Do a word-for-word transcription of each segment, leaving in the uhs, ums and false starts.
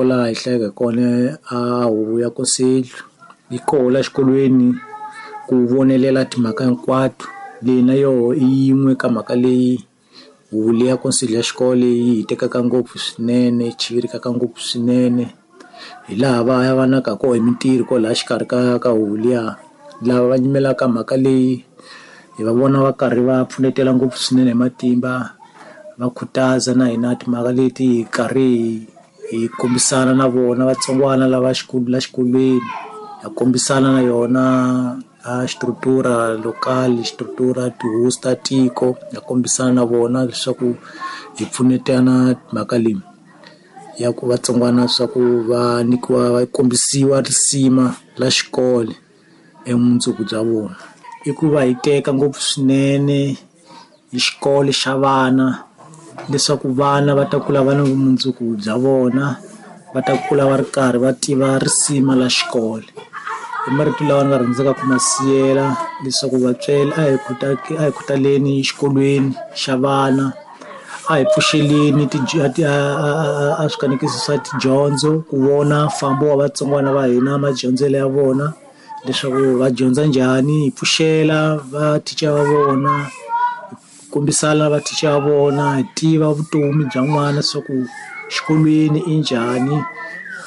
Kwalaha hi hlayaka hi kona a huvo ya conselho yi koho la xikolweni ku vonelela timhaka hinkwato leyi na yoho i yin'we ka mhaka leyi huvo leyi ya conselho ya xikolo leyi hi tekaka ngopfu swinene yi chivirikaka ngopfu swinene hi laha va ya vanaka koho hi mintirho kwalaya xikarhi ka ka huvo liya lava va nyimelaka mhaka leyi hi va vona va karhi va pfunetela ngopfu swinene hi matimba va khutaza na hina timhaka leti hi karhi hi hi kombisana na vona vatsongwana lava xikolo la xikolweni ha kombisana na yona a xitruktura local xitruktura tihosi ta tiko ha kombisana na vona leswaku hi pfunetana mhaka leyi ya ku vatsongwana swa ku va nyikiwa va kombisiwa risima la xikolo emundzuku bya vona i ku va hi teka ngopfu swinene hi xikolo xa vana leswaku vana va ta kula va na vumundzuku bya vona va ta kula va ri karhi va tiva risima la xikolo i marito lawa ni nga rhandzaka ku ma siyela leswaku vatswari a hi a hi khutaleni exikolweni xa vana a hi pfuxeleni a swikanekisi swa tidyondzo ku vona mfambo wa vatsongwana va hina madyondzelo ya vona leswaku va dyondza njhani hi pfuxela va thicara va vona kombisana va thicara va vona hi tiva vutomi bya n'wana leswaku xikolweni i njhani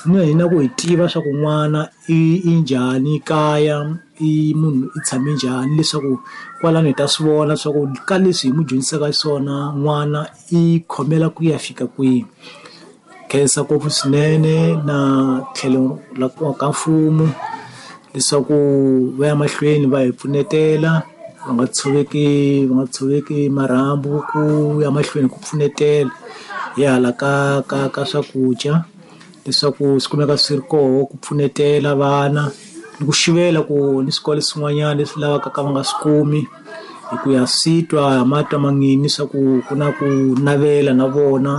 na hina ku hi tiva swa ku n'wana i i njhani kaya i munhu i tshame njhani leswaku kwalano hi ta swi vona swa ku ka leswi hi n'wi dyondzisaka swona n'wana i khomela ku ya fika kwihi khensa ngopfu swinene na tlhelo la ka mfumo leswaku va ya mahlweni va hi pfunetela va nga tshoveki va nga tshoveki marhambu ku ya mahlweni ku pfunetela hi hala ka ka ka swakudya leswaku swi kumeka swi ri koho ku pfunetela vana ni ku xivela ku ni swikolo swin'wanyana leswi lavaka ka va nga swi kumi hi ku ya swi twa matwa mangini swa ku ku na ku navela na vona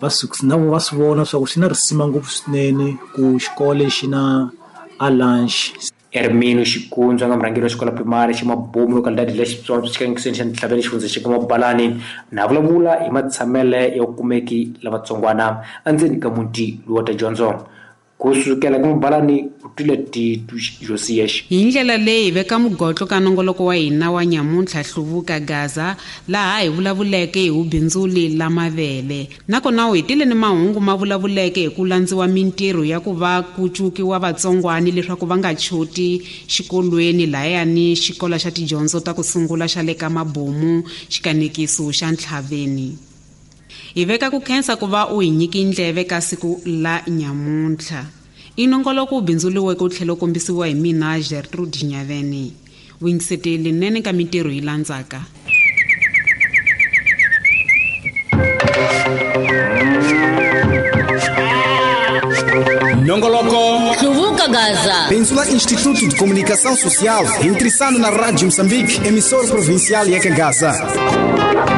va swi na vona va swi vona swa ku swi na risima ngopfu swinene ku xikolo xi na a lunch. Hermino Xikunzwa nga murhangeri wa xikolo primary xa Mabomu localidade la Xitsonga xikangekiseni xa Ntlhaveni xifundza xa Mabalani na vulavula hi matshamele ya kumeki lavatsongwana endzeni ka muti lowu wa tidyondzo kusukela ka Mabalani ku twile Titu Josias. Hi ndlela leyi veka mugotlo ka nongoloko wa hina wa nyamuntlha Hluvuka Gaza laha hi vulavuleke hi vubindzuli la mavele nakona u hetile ni mahungu ma vulavuleke hi ku landziwa mintirho ya ku va ku cukiwa vatsongwani leswaku va nga choti xikolweni lahayani xikolo xa tidyondzo ta ku sungula xa le ka Mabomu xikanekiso xa Ntlhaveni. Hi veka ku khensa ku va u hi nyiki ndleve ka siku la nyamuntlha. I nongoloko wu bindzuriweke wu tlhela wu kombisiwa hi mina Gertrude Nyaveni. Wingiseteli nene ka mintirho yi landzaka. Nongoloko Hluvuka Gaza. Bindzu la Instituto de Comunicação Social, intressando na Rádio Moçambique, emissora provincial ya Gaza.